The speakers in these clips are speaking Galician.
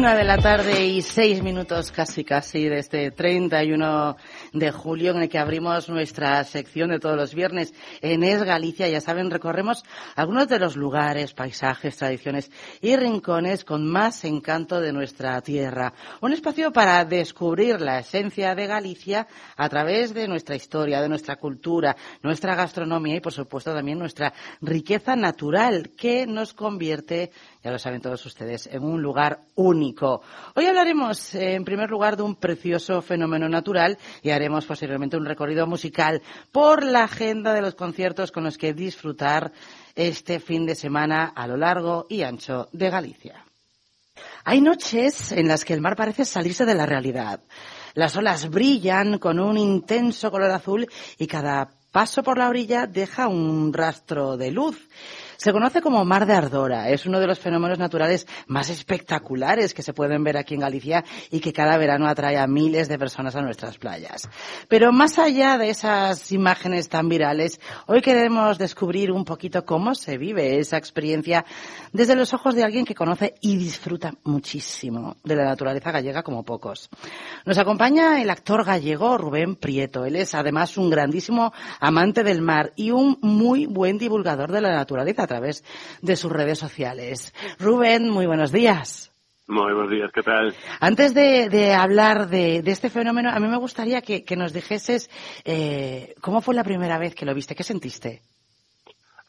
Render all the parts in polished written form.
1:06 casi de este 31 de julio, en el que abrimos nuestra sección de todos los viernes en Es Galicia. Ya saben, recorremos algunos de los lugares, paisajes, tradiciones y rincones con más encanto de nuestra tierra. Un espacio para descubrir la esencia de Galicia a través de nuestra historia, de nuestra cultura, nuestra gastronomía y, por supuesto, también nuestra riqueza natural, que nos convierte, ya lo saben todos ustedes, en un lugar único. Hoy hablaremos, en primer lugar, de un precioso fenómeno natural y haremos posteriormente un recorrido musical por la agenda de los conciertos con los que disfrutar este fin de semana a lo largo y ancho de Galicia. Hay noches en las que el mar parece salirse de la realidad. Las olas brillan con un intenso color azul y cada paso por la orilla deja un rastro de luz. Se conoce como Mar de Ardora. Es uno de los fenómenos naturales más espectaculares que se pueden ver aquí en Galicia y que cada verano atrae a miles de personas a nuestras playas. Pero más allá de esas imágenes tan virales, hoy queremos descubrir un poquito cómo se vive esa experiencia desde los ojos de alguien que conoce y disfruta muchísimo de la naturaleza gallega como pocos. Nos acompaña el actor gallego Rubén Prieto. Él es además un grandísimo amante del mar y un muy buen divulgador de la naturaleza a través de sus redes sociales. Rubén, muy buenos días. Muy buenos días, ¿qué tal? Antes de hablar de este fenómeno, a mí me gustaría que nos dijeses cómo fue la primera vez que lo viste, ¿qué sentiste?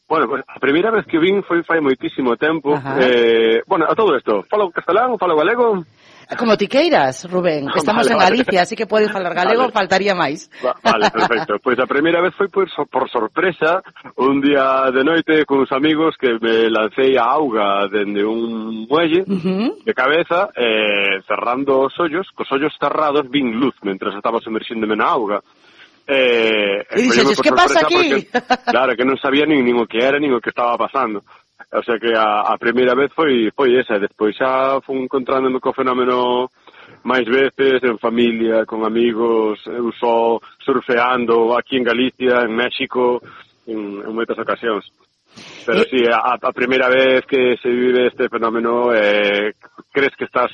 Bueno, pues a primeira vez que vin foi fai moitísimo tempo. Bueno, a todo isto, falo castelán, falo galego. Como ti queiras, Rubén. Estamos en Galicia, así que podes falar galego, faltaría máis. Vale, perfecto. Pois a primeira vez foi por sorpresa, un día de noite con uns amigos que me lancei a auga dende un muelle de cabeza, cerrando os ollos, cos ollos cerrados vin luz mentre estaba sumerxíndome na auga. E dixes, que pasa aquí? Porque, claro, que non sabía nin o que era, nin o que estaba pasando. O sea que a primeira vez foi esa, e despois xa fui encontrándome co fenómeno máis veces, en familia, con amigos, eu só surfeando aquí en Galicia, en México, en moitas ocasións. Pero sí, a primeira vez que se vive este fenómeno, crees que estás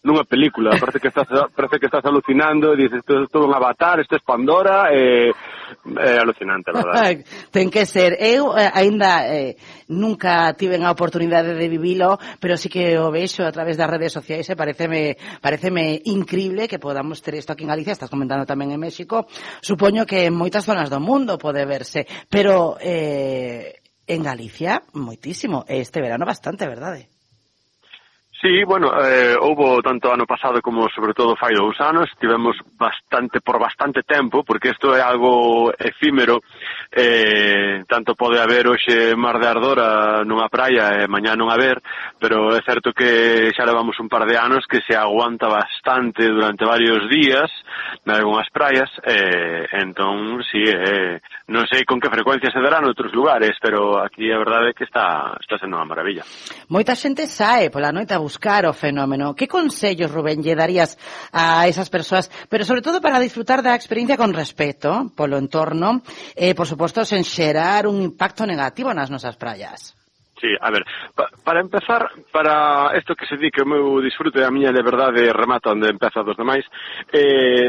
nunha película, parece que estás alucinando e dices, isto é todo un avatar, isto é Pandora, é alucinante, a verdade. Ten que ser. Eu aínda nunca tive a oportunidade de vivilo, pero sí que o vexo a través das redes sociais e pareceme increíble que podamos ter isto aquí en Galicia, estás comentando tamén en México, supoño que en moitas zonas do mundo pode verse, pero en Galicia moitísimo, este verano bastante, verdade? Sí, bueno, houbo tanto ano pasado como sobre todo fai 2 anos, tivemos por bastante tempo, porque isto é algo efímero, tanto pode haber hoxe Mar de Ardora nunha praia e mañá non haber, pero é certo que xa levamos un par de anos que se aguanta bastante durante varios días nalgunhas praias, entón, sí, non sei con que frecuencia se dará noutros lugares, pero aquí a verdade é que está sendo unha maravilla. Moita xente sae pola noite a buscar o fenómeno. Que consellos, Rubén, lle darías a esas persoas, pero sobre todo para disfrutar da experiencia con respeto polo entorno, por suposto, sen xerar un impacto negativo nas nosas praias? Sí, a ver, para empezar, para isto que se di que o meu disfrute a miña liberdade remata onde empeza dos demais,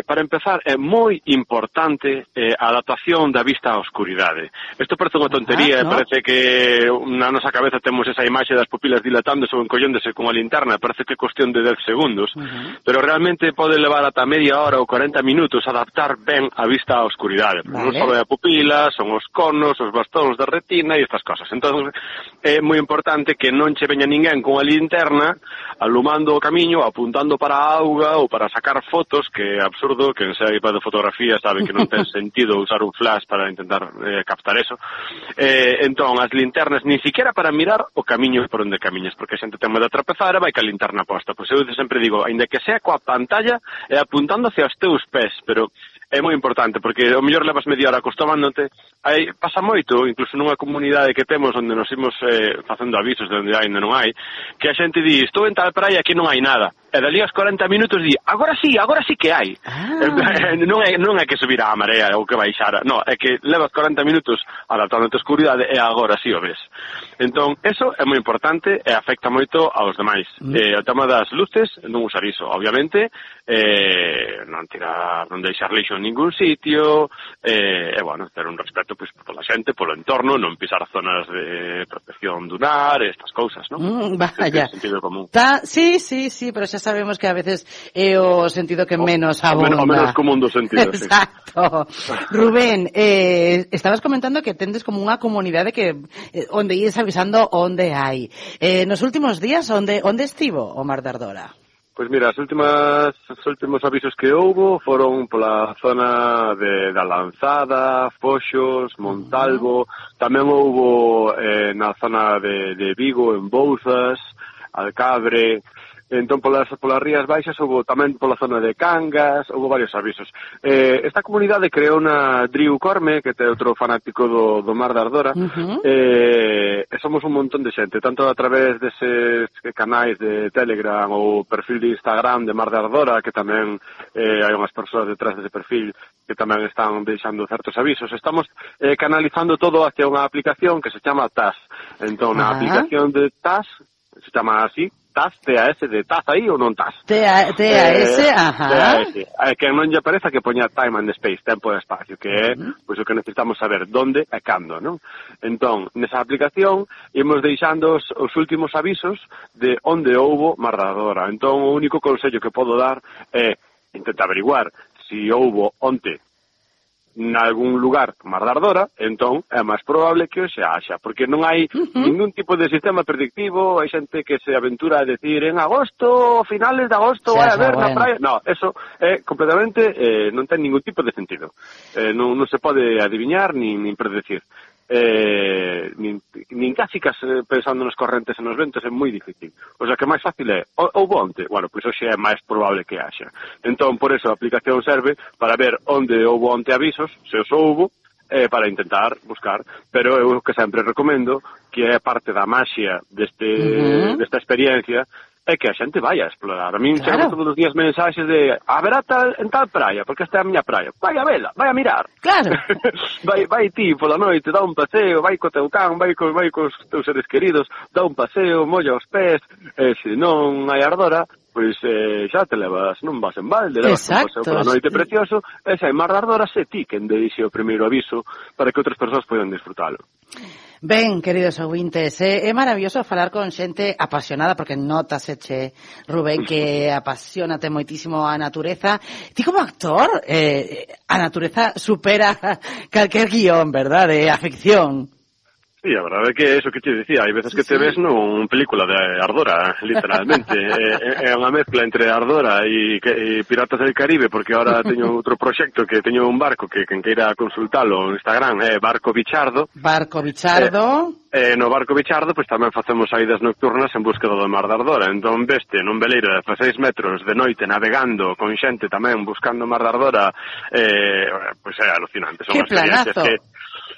para empezar é moi importante a adaptación da vista á oscuridade. Isto parece unha tontería, ¿no? Parece que na nosa cabeza temos esa imaxe das pupilas dilatándose ou encolléndose con a linterna, parece que é cuestión de 10 segundos, pero realmente pode levar ata media hora ou 40 minutos a adaptar ben a vista á oscuridade. Non só é a pupila, son os conos, os bastóns da retina e estas cosas. Entón, é moi importante que non che veña ninguén con a linterna alumando o camiño, apuntando para a auga ou para sacar fotos, que é absurdo, que en saiba de fotografía sabe que non ten sentido usar un flash para intentar captar eso. Entón, as linternas nin siquiera para mirar o camiño por onde camiñas, porque a xente ten medo de tropezar e vai ca linterna posta. Pois eu sempre digo, aínda que sea coa pantalla e apuntando hacia os teus pés, pero é moi importante, porque o mellor levas media hora acostumándote. Aí pasa moito, incluso nunha comunidade que temos onde nos imos facendo avisos de onde hai e onde non hai, que a xente di, estou en tal praia, aquí non hai nada. dali aos 40 minutos di, agora sí que hai. Non é que subir a marea ou que baixara, non, é que levas 40 minutos adaptando a escuridade e agora sí o ves. Entón, eso é moi importante e afecta moito aos demais. O tema das luces, non usar iso, obviamente, non deixar lixo en ningún sitio, bueno, ter un respeto pois pola xente, polo entorno, non pisar zonas de protección dunar, estas cousas, non? Vaya. Sentido común. Sí, pero xa sabemos que a veces é o sentido que menos abunda. O menos común do sentido, Exacto. Sí. Rubén, estabas comentando que tendes como unha comunidade que onde ides avisando onde hai. Nos últimos días, onde estivo o Mar de Ardora? Pois mira, os últimos avisos que houbo foron pola zona da Lanzada, Foxos, Montalvo, tamén houbo na zona de Vigo, en Bouzas, Alcabre. Entón, polas rías baixas, houve tamén pola zona de Cangas, houve varios avisos. Esta comunidade creou na Driu Corme, que é outro fanático do Mar de Ardora, e somos un montón de xente, tanto a través deses canais de Telegram ou perfil de Instagram de Mar de Ardora, que tamén hai unhas persoas detrás dese perfil que tamén están deixando certos avisos. Estamos canalizando todo hacia unha aplicación que se chama TAS. Entón, na aplicación de TAS, se chama así, TAS, TAS, de TAS aí ou non TAS? TAS, ajá. TAS. Que non lle pareza que poña time and space, tempo e espacio, que é pois o que necesitamos saber donde e cando, non? Entón, nesa aplicación imos deixando os últimos avisos de onde houbo Mar de Ardora. Entón, o único consello que podo dar é intentar averiguar se houbo onte nalgún lugar Mar de Ardora, entón é máis probable que o se haxa, porque non hai ningún tipo de sistema predictivo, hai xente que se aventura a decir en agosto, finales de agosto vai haber na praia. No, eso é completamente, non ten ningún tipo de sentido. Non se pode adiviñar nin predecir. Nin casi pensando nos correntes e nos ventos é moi difícil. O sea, que máis fácil é houbo onte, bueno, pois hoxe é máis probable que haxa. Entón, por eso a aplicación serve para ver onde houbo onte avisos, se os houbo, para intentar buscar, pero eu que sempre recomendo, que é parte da maxia desta experiencia, é que a xente vai a explorar. A min chegan todos os días mensaxes de haberá en tal praia, porque esta é a miña praia. Vai a vela, vai a mirar. Claro. vai ti pola noite, dá un paseo, vai co teu can, vai cos teus seres queridos, dá un paseo, molla os pés, se non hai ardora, pois xa te levas, non vas en balde, levas un paseo pola noite precioso, e se hai Mar de Ardora, se ti quen deixe o primeiro aviso para que outras persoas poidan disfrutalo. Ben, queridos ouvintes, é maravilloso falar con xente apasionada, porque notaseche, Rubén, que apasionate moitísimo a natureza. Ti como actor, a natureza supera calquer guión, verdad, de afección. Sí, a verdade é que é iso que te dicía, hai veces que te ves nun película de Ardora, literalmente. É unha mezcla entre Ardora e Piratas del Caribe, porque ahora teño outro proxecto que teño un barco que quen queira consultalo no Instagram é Barco Bichardo. Barco Bichardo. No Barco Bichardo pois tamén facemos saídas nocturnas en búsqueda do Mar de Ardora. Entón veste nun veleiro de 16 metros de noite navegando con xente tamén buscando Mar de Ardora, pois é alucinante. Son que planazo!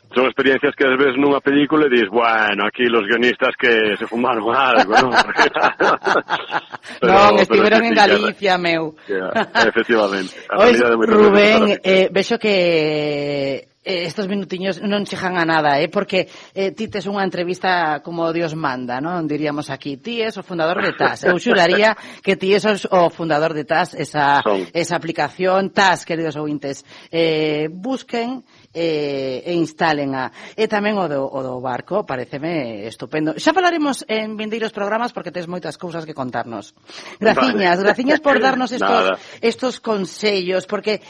Son experiencias que ves nunha película e dis, bueno, aquí los guionistas que se fumaron algo, non? Non, estiveron en Galicia, meu. Efectivamente. Rubén, vexo que estos minutiños non chegan a nada, porque ti tes unha entrevista como Dios manda, non? Diríamos aquí, ti es o fundador de TAS. Eu xuraría que ti es o fundador de TAS, esa aplicación TAS, queridos ouvintes. Busquen e instalen e tamén o do barco, pareceme estupendo. Xa falaremos en vindeiros programas porque tes moitas cousas que contarnos. Graciñas por darnos estos consellos, porque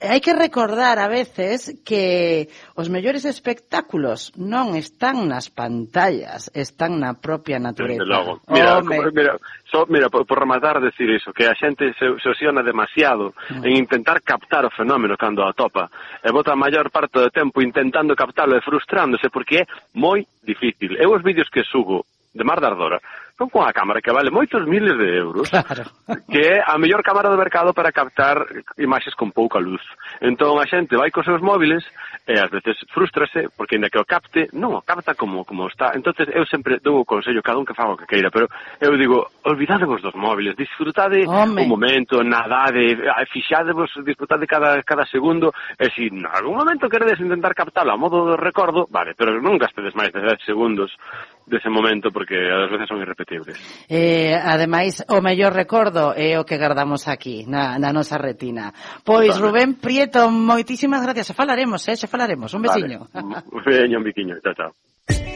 hai que recordar a veces que os mellores espectáculos non están nas pantallas, están na propia natureza. Mira, por rematar decir iso, que a xente se obsesiona demasiado en intentar captar o fenómeno cando atopa, e bota a maior parte do tempo intentando captalo e frustrándose porque é moi difícil. Eu os vídeos que subo de Mar de Ardora, con unha cámara que vale moitos miles de euros, claro, que é a mellor cámara do mercado para captar imaxes con pouca luz. Entón a xente vai cos seus móviles e ás veces frústrase porque ainda que o capte, non o capta como está. Entonces eu sempre dou o consello, cada un que faga o que queira, pero eu digo, olvidadevos dos móviles, disfrutade o momento, nadade, fixadevos, disfrutade cada segundo, e se en algún momento queredes intentar captalo a modo de recordo, vale, pero non gastedes máis de 10 segundos dese momento porque ás veces son irrepetibles. Ademais, o mellor recordo é o que guardamos aquí, na nosa retina. Pois, Rubén Prieto, moitísimas gracias. Xa falaremos. Un besiño. Vale. Un biquiño. Chao, chao.